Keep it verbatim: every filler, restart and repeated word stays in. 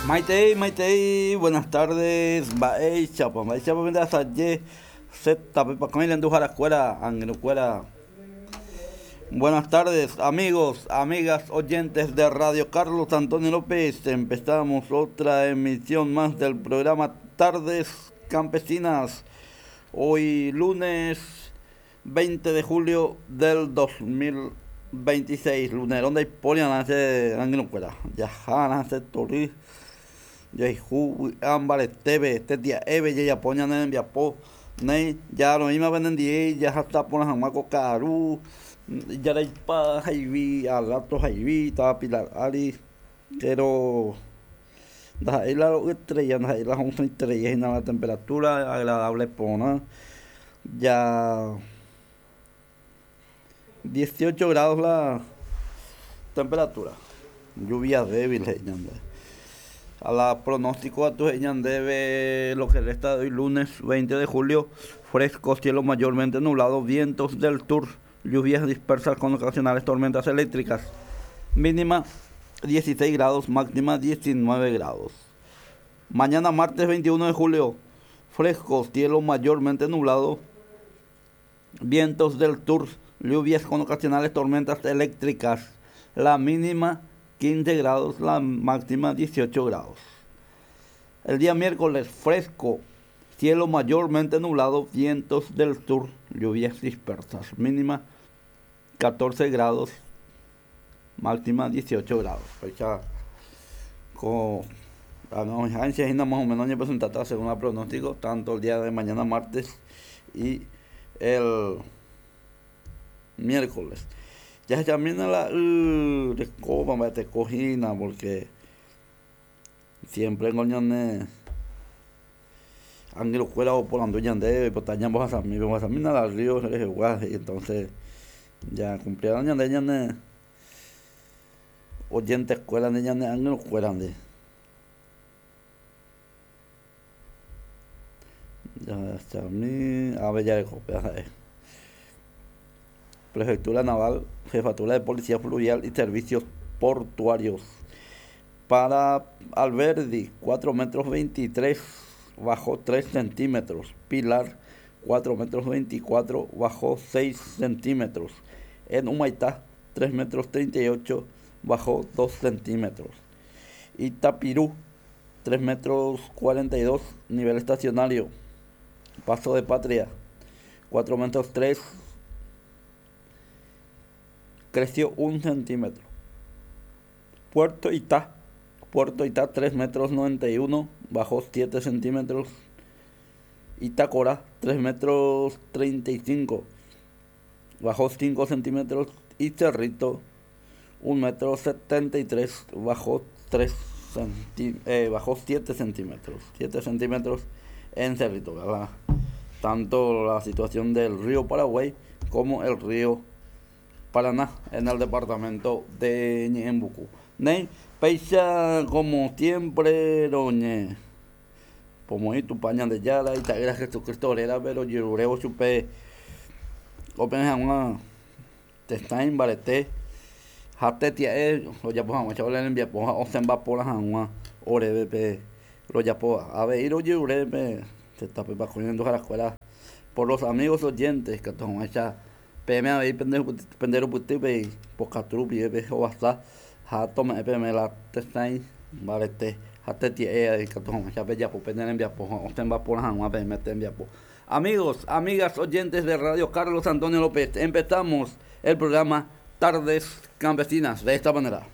Maitei, Maitei, buenas tardes, mba'éichapa, mba'éichapa pendeasaje Zeta Renduharakuéra, angirũkuéra. Buenas tardes, amigos, amigas, oyentes de Radio Carlos Antonio López. Empezamos otra emisión más del programa Tardes Campesinas. Hoy lunes veinte de julio del dos mil veintiséis. Lunes, donde hay polia, angirũkuéra. Ya hace tori. Jaihu ambareteve, este día eve ya poña ne enviapo, ne ya lo mismo vendendie, ya hasta por la jamaco caru, ya la ipa jaivi, al rato jaivi, estaba Pilar Ali, pero da ahí la estrella, da ahí la once estrella y la temperatura agradable pona, ya dieciocho grados la temperatura, lluvia débil, eh, a la pronóstico a tu debe lo que resta de hoy lunes veinte de julio, fresco, cielo mayormente nublado, vientos del sur, lluvias dispersas con ocasionales tormentas eléctricas, mínima dieciséis grados, máxima diecinueve grados. Mañana martes veintiuno de julio, fresco, cielo mayormente nublado, vientos del sur, lluvias con ocasionales tormentas eléctricas, la mínima quince grados, la máxima dieciocho grados. El día miércoles, fresco, cielo mayormente nublado, vientos del sur, lluvias dispersas, mínima catorce grados, máxima dieciocho grados. Fecha con la más o menos presentada según el pronóstico, tanto el día de mañana martes y el miércoles. Ya se camina la uh, de copa, te cojina, porque siempre en coñones angelo cuela o por anduñan de potañan vos a mí, vos a mí nada río, se les y entonces ya cumplieron ñande ñande oyentes escuela de ñande angelo cuela de ya se a mí a ver ya de copia. Prefectura Naval, Jefatura de Policía Fluvial y Servicios Portuarios. Para Alberdi, cuatro metros veintitrés, bajó tres centímetros. Pilar, cuatro metros veinticuatro, bajó seis centímetros. En Humaitá, tres metros treinta y ocho, bajó dos centímetros. Itapirú, tres metros cuarenta y dos, nivel estacionario. Paso de Patria, cuatro metros tres, creció un centímetro. Puerto Itá, Puerto Itá tres metros noventa y uno, bajó siete centímetros. Itacora tres metros treinta y cinco, bajó cinco centímetros. Y Cerrito un metro setenta y tres, bajó tres centí- eh, bajó siete centímetros. siete centímetros en Cerrito, ¿verdad? Tanto la situación del río Paraguay como el río Paraná en el departamento de Ñeembucú. Ney, peisa como siempre, doñe. Como y tu paña de yala y te agra Jesucristo era, pero yo supe. Open una te está en barete. Jate tía eh, lo ya pues a chaval envía pues o se va por la jangua, ore pe lo ya pues a ver ir oye ore pe se está pe cogiendo a la escuela por los amigos oyentes que toman esa P M A pendejo pendejo putipe pocatrupi pe o hasta ha toma P M la testain barete hasta tie que toma ya pe ya po pende envía po o se va por la jangua pe mete envía po. Amigos, amigas oyentes de Radio Carlos Antonio López, empezamos el programa Tardes Campesinas de esta manera.